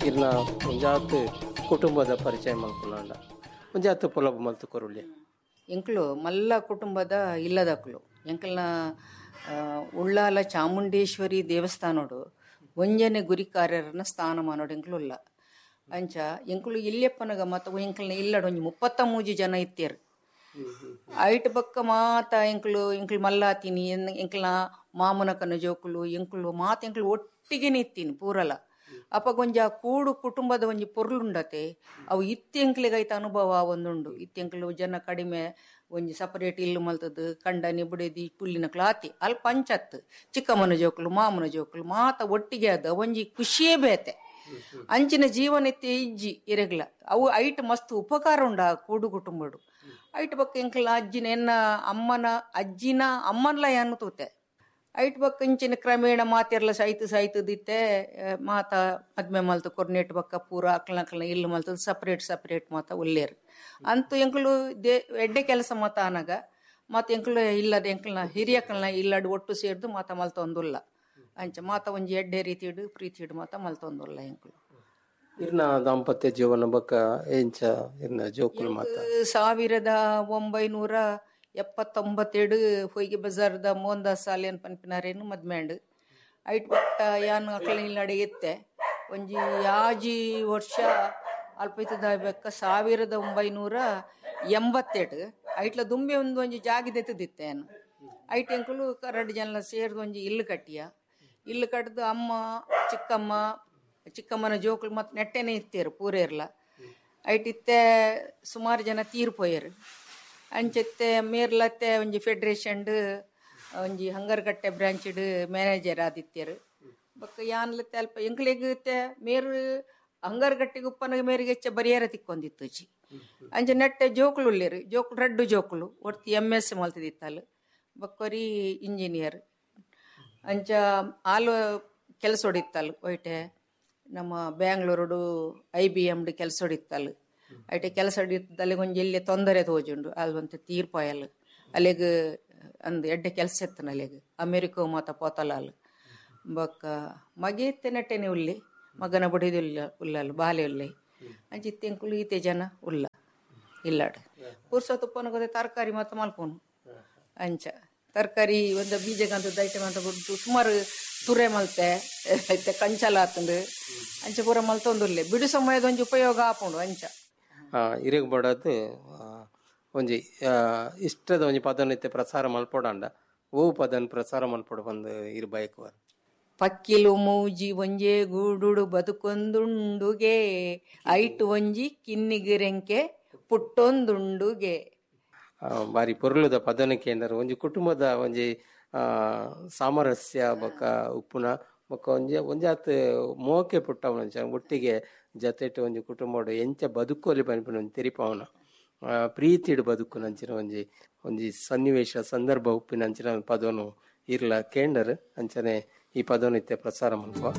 ಇರ್ನ ಒಂಜಾತ್ ಕುಟುಂಬದ ಪರಿಚಯ ಮಲ್ಪುನಾಂಡ ಒಂಜಾತ್ ಪೊಲಬು ಮಲ್ತು ಕೊರುಳ್ಳಿ. ಎಂಕ್ಲು ಮಲ್ಲ ಕುಟುಂಬದ ಇಲ್ಲದಕ್ಲು. ಎಂಕಲ್ನ ಉಳ್ಳಾಲ ಚಾಮುಂಡೇಶ್ವರಿ ದೇವಸ್ಥಾನೋಡು ಒಂಜನೆ ಗುರಿಕಾರ್ಯರನ್ನ ಸ್ಥಾನಮಾನೋಡು ಎಂಕ್ಲು ಉಲ್ಲ. ಅಂಚ ಎಂಕುಲು ಇಲ್ಲೆಪ್ಪನಗ ಮತ್ತ ಎಂಕಲ್ನ ಇಲ್ಲಡ್ ಒಂಜಿ 33 ಜನ ಇತ್ತೇರು. ಐಟ್ ಬಕ್ಕ ಮಾತ ಎಂಕುಲು ಎಂಕುಲು ಮಲ್ಲಾತಿನಿ, ಎಂಕಲ್ನ ಮಾಮನಕನ ಜೋಕುಲು ಎಂಕುಲು ಮಾತ ಎಂಕುಲು ಒಟ್ಟಿಗೆನೆ ಇತ್ತೀನಿ ಪೂರಲ. ಅಪಗ ಒಂಜಿ ಆ ಕೂಡು ಕುಟುಂಬದ ಒಂಜಿ ಪೊರ್ಲುಂಡತೆ ಅವು ಇತ್ತೆ ಎಂಕ್ಲೆಗ್ ಐತ ಅನುಭವ ಒಂದುಂಡು. ಇತ್ತೆ ಎಂಕುಲು ಜನ ಕಡಿಮೆ, ಒಂಜಿ ಸಪರೇಟ್ ಇಲ್ಲು ಮಲ್ತದ್ದು ಕಂಡನಿ ಬುಡೆದಿ ಪುಲ್ಲಿನಕ್ಲು ಆತಿ ಅಲ್ಪ ಪಂಚತ್ ಚಿಕ್ಕಮ್ಮನ ಜೋಕುಲು ಮಾಮನ ಜೋಕುಲು ಮಾತ ಒಟ್ಟಿಗೆ ಆದ ಒಂಜಿ ಖುಷಿಯೇ ಬೇತೆ. ಅಂಚಿನ ಜೀವನ ಇತ್ತೆ ಇಜ್ಜಿ ಇರೆಗ್ಲ. ಅವು ಐಟ್ ಮಸ್ತ್ ಉಪಕಾರ ಉಂಡು ಆ ಕೂಡು ಕುಟುಂಬಡು. ಐಟ್ ಬಕ್ಕ ಎಂಕಲ್ನ ಅಜ್ಜಿನ ಎನ್ನ ಅಮ್ಮನ ಅಜ್ಜಿನ ಅಮ್ಮನ್ಲ ಯಾನು ತೂತೆ. ಐಟ್ ಬಕ್ಕ ಇಂಚಿನ ಕ್ರಮೇಣ ಮಾತೆರ್ಲ ಸಾಯ್ತು ಸಾಯ್ತದಿತ್ತೆ ಮಾತ ಮದ್ಮೆ ಮಲ್ತು ಕೊರ್ನೆಟ್ ಬಕ್ಕ ಪೂರ ಅಕ್ಲ ಅಕ್ಲ ಇಲ್ಲು ಮಲ್ತದ ಸಪರೇಟ್ ಸಪರೇಟ್ ಮಾತ ಉಲ್ಲೇರು. ಅಂತೂ ಎಂಕುಲು ಎಡ್ಡೆ ಕೆಲಸ ಮಾತ ಆನಗ ಮಾತ ಎಂಕುಲು ಇಲ್ಲದ ಎಂಕಲ್ನ ಹಿರಿಯಕಲ್ನ ಇಲ್ಲಡ್ ಒಟ್ಟು ಸೇರ್ದು ಮಾತ ಮಲ್ತೊಂದುಲ್ಲ. ಅಂಚ ಮಾತ ಒಂಜಿ ಎಡ್ಡೆ ರೀತಿಡು ಪ್ರೀತಿಡು ಮಾತ ಮಲ್ತೊಂದುಲ್ಲ ಎಂಕುಲು. ಇರ್ನ ದಾಂಪತ್ಯ ಜೀವನ ಬಕ್ಕ ಎಂಚ ಇರ್ನ ಜೋಕುಲು ಮಾತ? 1979 ಹೊಯ್ಗೆ ಬಜಾರ್ದ ಮೋಹನ್ದಾಸ್ ಸಾಲಿಯನ್ ಪನ್ಪಿನಾರೇನು ಮದ್ಮ್ಯಾಂಡ್. ಐಟ್ ಬತ್ತ ಯಾನ್ ಅಕ್ಲ ಇಲ್ಲಡೆ ಇತ್ತೆ ಒಂಜಿ ಯಾಜಿ ವರ್ಷ ಅಲ್ಪ ಇತ್ತದ ಬೆಕ್ಕ 1988 ಐಟ್ಲ ದುಂಬೆ ಒಂದು ಒಂಜಿ ಜಾಗಿ ದೆತ್ತದಿತ್ತೆ ಯಾನು. ಐಟ್ ಎಂಕುಲು ರಡ್ಡ್ ಜನ ಸೇರ್ದು ಒಂಜಿ ಇಲ್ಲು ಕಟ್ಟಿಯ. ಇಲ್ಲು ಕಟ್ಟದು ಅಮ್ಮ ಚಿಕ್ಕಮ್ಮ ಚಿಕ್ಕಮ್ಮನ ಜೋಕುಲು ಮತ್ ನೆಟ್ಟೆನೆ ಇತ್ತೇರು ಪೂರೇರ್ಲ. ಐಟ್ ಇತ್ತೆ ಸುಮಾರು ಜನ ತೀರ್ ಪೋಯೆರು. ಅಂಚೆತ್ತೆ ಮೇರ್ಲತ್ತೆ ಒಂಜಿ ಫೆಡರೇಷನ್ಡ್ ಒಂಜಿ ಹಂಗರ್ಕಟ್ಟೆ ಬ್ರಾಂಚ್ಡ್ ಮ್ಯಾನೇಜರ್ ಆದಿತ್ತೇರು. ಬೊಕ್ಕ ಯಾನ್ಲತ್ತೆ ಅಲ್ಪ ಎಂಕ್ಲೆಗ್ ಇತ್ತೆ ಮೇರು ಹಂಗರ್ಕಟ್ಟೆಗ್ ಉಪ್ಪನಗ ಮೇರಿಗೆ ಹೆಚ್ಚ ಬರಿಯರ ತಿಕ್ಕೊಂದಿತ್ತುಜಿ. ಅಂಚ ನೆಟ್ಟೆ ಜೋಕುಲು ಉಲ್ಲೇರು, ಜೋಕುಲು ರಡ್ಡು ಜೋಕುಲು ಒರ್ತಿ MS ಮಲ್ತದಿತ್ತಲ್, ಬೊಕ್ಕೊರಿ ಇಂಜಿನಿಯರ್. ಅಂಚ ಆಲು ಕೆಲಸ ಹೊಡಿತ್ತಲ್ ಒಯ್ಟೆ ನಮ್ಮ ಬ್ಯಾಂಗ್ಳೂರುಡು IBM ಡ್ ಕೆಲಸ ಹೊಡಿತ್ತಲ್. ಐಟೆ ಕೆಲಸ ಹೊಡಿತ್ತಲ್ಲಿ ಒಂಜಿ ಎಲ್ಲಿ ತೊಂದರೆ ತೋಜುಂಡು ಅಲ್ವಂತ ತೀರ್ಪಾಯಲ್ ಅಲ್ಲಿಗ್ ಅಂದ್ ಎಡ್ಡೆ ಕೆಲಸ ಇತ್ತನ ಅಲ್ಲಿಗ್ ಅಮೆರಿಕ ಮಾತ ಪೋತಲ ಅಲ್. ಬೊಕ್ಕ ಮಗೆ ಇತ್ತೆ ನೆಟ್ಟೆನೆ ಉಲ್ಲಿ, ಮಗನ ಬುಡಿದು ಉಲ್ಲ ಉಲ್ಲಲ್ ಬಾಲೆ ಉಲ್ಲೆ. ಅಂಚ ಇತ್ತೆ ಎಂಕುಲು ಈತೆ ಜನ ಉಲ್ಲ ಇಲ್ಲಾಡ್. ಪುರ್ಸೊತ್ತು ಉಪ್ಪನಗ ತರಕಾರಿ ಮಾತ ಮಲ್ಪುನು. ಅಂಚ ತರಕಾರಿ ಒಂದು ಬೀಜಗಂತದ ಐಟಮ್ ಅಂತ ಬುಡ್ದು ಸುಮಾರು ತುರೆ ಮಲ್ತೆ ಇತ್ತೆ ಕಂಚಲ ಆತಂದು ಅಂಚ ಪೂರ ಮಲ್ತೊಂದುಲ್ಲೆ. ಬಿಡು ಸಮಯದ ಒಂಜಿ ಉಪಯೋಗ ಆಪುಂಡು ಅಂಚ. ಇರೆಗ್ ಬೋಡಾದ್ ಒಂಜಿ ಇಷ್ಟದ ಒಂಜಿ ಪದನ್ ಇತ್ತೆ ಪ್ರಸಾರ ಮಲ್ಪೊಡಾಂಡ ಓ ಪದನ್ ಪ್ರಸಾರ ಮಲ್ಪೊಡು ಪಂದ್ ಇರ್ ಬಯಕುವರ್? ಪಕ್ಕಿಲು ಮೂಜಿ ಒಂಜೇ ಗೂಡುಡು ಬದುಕೊಂದುಂಡುಗೆ, ಐಟ್ ಒಂಜಿ ಕಿನ್ನಿಗಿರೆಂಕೆ ಪುಟ್ಟೊಂದುಂಡುಗೆ. ಬಾರಿ ಪೊರ್ಲುದ ಪದನ ಕೇಂದ್ರ ಒಂಜಿ ಕುಟುಂಬದ ಒಂಜಿ ಸಾಮರಸ್ಯ ಬೊಕ್ಕ ಉಪ್ಪುನ ಬೊಕ್ಕ ಒಂಜಿ ಒಂಜಾತ್ ಮೋಕೆ ಪುಟ್ಟವನ ಒಟ್ಟಿಗೆ ಜತೆಟ್ ಒಂಜಿ ಕುಟುಂಬಡು ಎಂಚ ಬದುಕೋಲಿ ಪನ್ಪಿನ ಒಂಜಿ ತೆರಿಪಾವನ ಪ್ರೀತಿಡ್ ಬದುಕುನಂಚಿನ ಒಂಜಿ ಒಂಜಿ ಸನ್ನಿವೇಶ ಸಂದರ್ಭ ಉಪ್ಪಿನಂಚಿನ ಪದನು ಇರ್ಲ ಕೇಂಡರ್. ಅಂಚನೆ ಈ ಪದನು ಇತ್ತೆ ಪ್ರಸಾರ ಮಲ್ಪುವ.